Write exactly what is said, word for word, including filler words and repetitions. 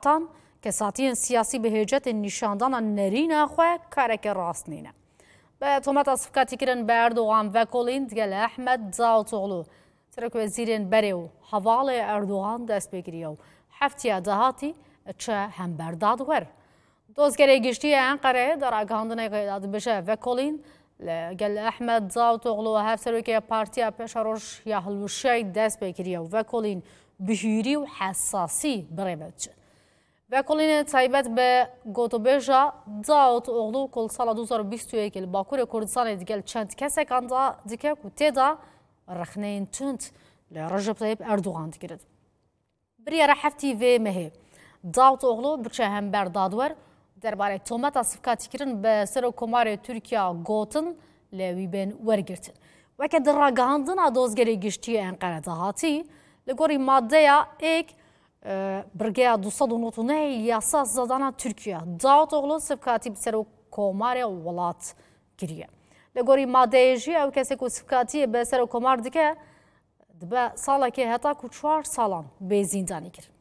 Tan kesatiyên siyasî bi hêcetên nîşandana nerîna xwe kareke rast nîne. Bi tometa sivkatîkirin bi Erdogan vekolîn digel Ehmed Davutoğlu, serokwezîrên berê û hevalê Erdogan dest pê kiriye û heftiya dahatî çe hember dadwer. Dozgerê Giştî yê Enqereyê di ragihandinekê de dibêje vekolîn li gel Ehmed Davutoğlu û hevserokê Partiya Pêşeroj ya Hilweşiyayî dest pê kiriye û vekolîn bi hûrî û hesasî bi rê ve diçin. Vekolînê taybet bi gotûbêja Davutoğlu ku li sala du hazar û bîst û yekê li Bakurê Kurdistanê digel çend kesekan de dike ku tê de rexneyên tund li Recep Tayyip Erdogan digirin. Biryara heftî vê mehê Davutoğlu biçe hember dadwer, derbarê tometa sivkatîkirin bi Serokkomarê Tirkiya gotin lê wî bên wergirtin. Weke di ragihandina Dozgerê Giştî yê Enqere de hatî, li gorî maddeya êk, e, birgeya du sed û nod û neh yasa sedana Tirkiye, Davutoğlu sivkatî bi Serokkomarê welat kiriye. Li gorî madeyê jî ew kesê ku sivkatiyê bi Serokkomar dike, dibe salekê heta ku çar salan bê zîndanî kirin.